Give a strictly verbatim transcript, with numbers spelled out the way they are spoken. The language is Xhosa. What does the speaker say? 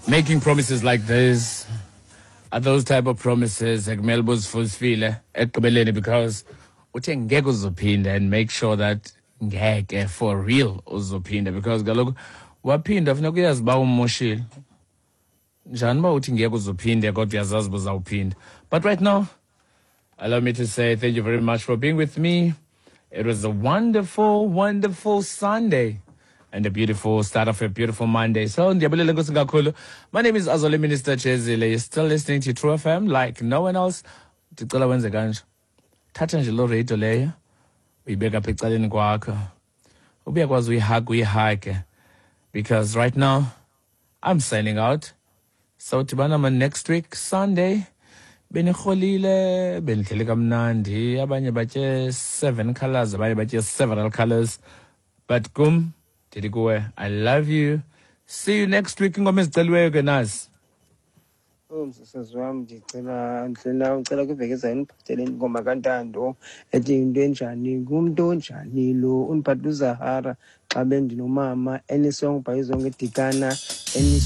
Making promises like this are those type of promises ekumele uzifulfile ekugqibeleni, because uthe ngeke uzophinda, and make sure that ngeke for real uzophinda, because kaloku waphinda, funeka uyazi uba umoshile njani uba uthi ngeke uzophinde kodwa uyazazi uba uzawuphinda. But right now, allow me to say thank you very much for being with me. It was a wonderful, wonderful Sunday and a beautiful start of a beautiful Monday. So, ndiyabulela, enkosi kakhulu. My name is Azole Minister Chezile. You're still listening to True F M like no one else. Ndicela wenze kanje. Thatha nje loo radio leyo, uyibeka apha ecaleni kwakho. Ubuyakwazi uyihaga, uyihuge. Because right now, I'm signing out. So, dibana ma next week, Sunday. Benirholile, benihleli kamnandi, abanye batye seven colors, abanye batye several colors, but kum ndithi kuwe, I love you. See you next week. Ingoma eziceliweyo ke nazi. Oh, msasazi wam, ndicela ndlela ucela kwiveki ezayo ndiphathele ingoma kaNtando ethi "Into Enjani", "Ngumntu Onjani Lo", undiphathele uZahara, "Xa Bendinomama", any song by Zonke Dikana, any